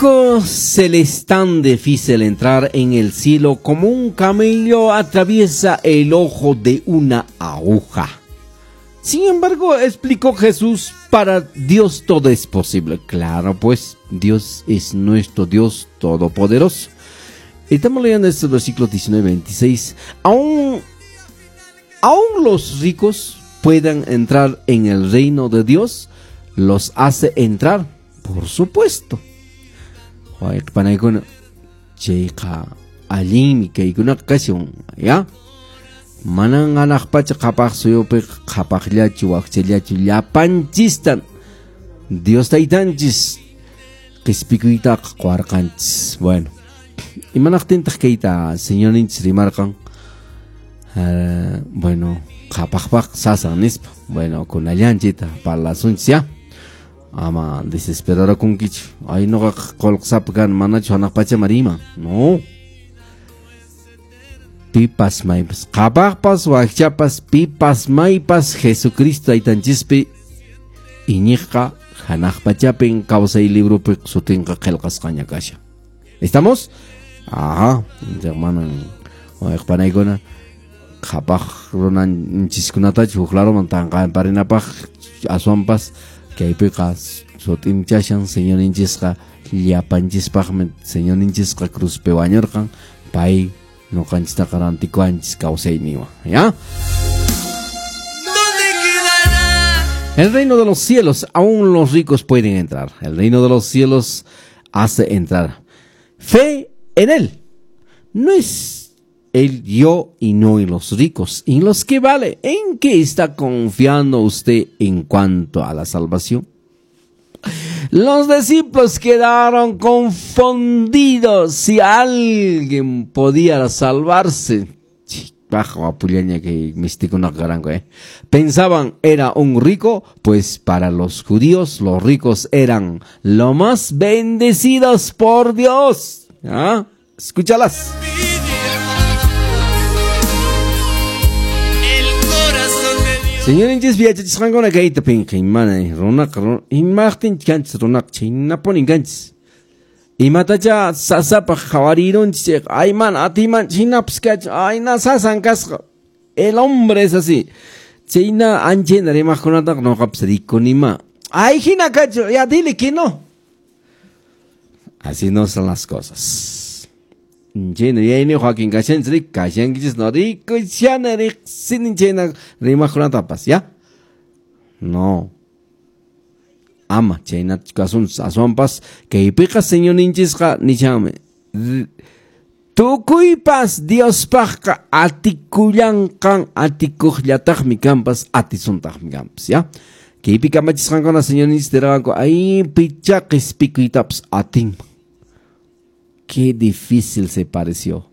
rico se le es tan difícil entrar en el cielo como un camello atraviesa el ojo de una aguja. Sin embargo, explicó Jesús, para Dios todo es posible. Claro, pues Dios es nuestro Dios todopoderoso. Estamos leyendo este versículo 19-26. Aún los ricos puedan entrar en el reino de Dios, los hace entrar, por supuesto. Chayqa allinmi kaykunaqa kashan, ya? Manan hanaq pacha qhapaq suyupi qhapaqllachu wakchallachu llapanchistan Dios taytanchis qispikuytaqa quwarqanchis. Bueno, imanaqtintaq kayta señorninchis rimarqan? Bueno, qhapaqpaq sasan nispa. Bueno, kunallanchita parlasunchis, ya? Ama desesperarakunkichu. Ay, noqaqa qullqisapa kan, manachu hanaq pachaman riman. No. Pipas maypas, qhapaqpas wakchapas, pipas maypas Jesucristo taytanchispi iñiqqa hanaq pachapin kawsay libropi sutinqa qillqasqaña kashan. ¿Estamos? Ajá, manan wayqpanaykuna qhapaq runanchiskunatachu huk laruman tanqaparinapaq aswanpas kaypiqa sutinchashan señorninchisqa llapanchispaqmi señorninchisqa cruzpi wañurqan, pay noqanchistaqa rantikuanchis kawsayninwan, ¿ya? El reino de los cielos, aún los ricos pueden entrar. El reino de los cielos hace entrar. Fe en él. No es el yo y no en los ricos, en los que vale. ¿En qué está confiando usted en cuanto a la salvación? Los discípulos quedaron confundidos si alguien podía salvarse. Pensaban era un rico, pues para los judíos los ricos eran los más bendecidos por Dios. ¿Ah? Escúchalas. Señor inchis viachachisqankuna kayta pinqaymana runaqa imaqtin kanchis runaqa chhaynapuni kanchis imatacha sasapaq qhawarirunchis ay mana atiyman chhaynapas kachun ay na sasan kasqa. El hombre es así. Chayna anchayna rimaqkunataqa nuqapas rikunima. Ay hina kachun, ya dile que no. Así no son las cosas. Chayna yayni Joaquín kashanchis kashankichis no rikushana riqsini chayna rimaqkunatapas, ya? No. Ama chayna kasunchis aswanpas kaypiqa señorninchisqa nishanmi tukuypas Diospaqqa atikullanqan atikuqllataqmi kanpas atisuntaqmi kanpas, ya? Kaypi kamachisqankuna señorninchis nirqanku ay picha qispikuytapas atinman. Qué difícil se pareció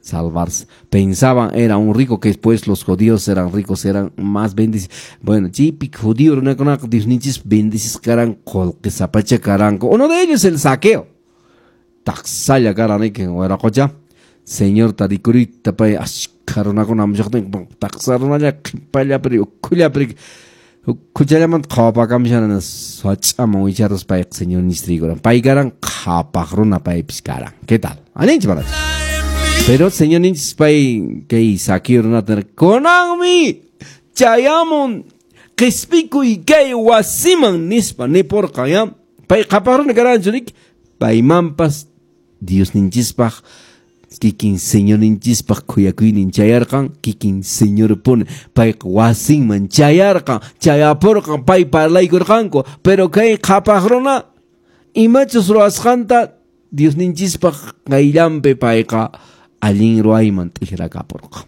salvarse. Pensaban era un rico, que después los judíos eran ricos, eran más bendecidos. Bueno, chipik judío runakunaqa Diosninchis bendicisqa karan qullqisapacha karanku. Uno de ellos el saqueo. Taqsalla karan wiraqocha. Señor tarikurita pay ashkha runakuna amllaqtin taqsa runalla qhipallapi ukhullapi ukhuchallamanta qhawapakamishana sach'aman wicharus payqa señorninchis rikuran. Pay karan qhapaq runa paypis karan. ¿Qué tal? Aninchis manachu? Pero señorninchis pay kay Saqueo runata kunanmi chayamun qispikuy kay wasiman nispa nipurqan, ya? Pay qhapaq runa karanchu riki? Paymanpas Diosninchispaq kikin señorninchispaq khuyakuynin chayarqan, kikin señorpuni payqa wasinman chayarqan, chayapurqan, pay parlaykurqanku. Pero kay qhapaq runa imachus ruwasqanta Diosninchispaq qayllanpi payqa allin ruwayman t'irakapurqan.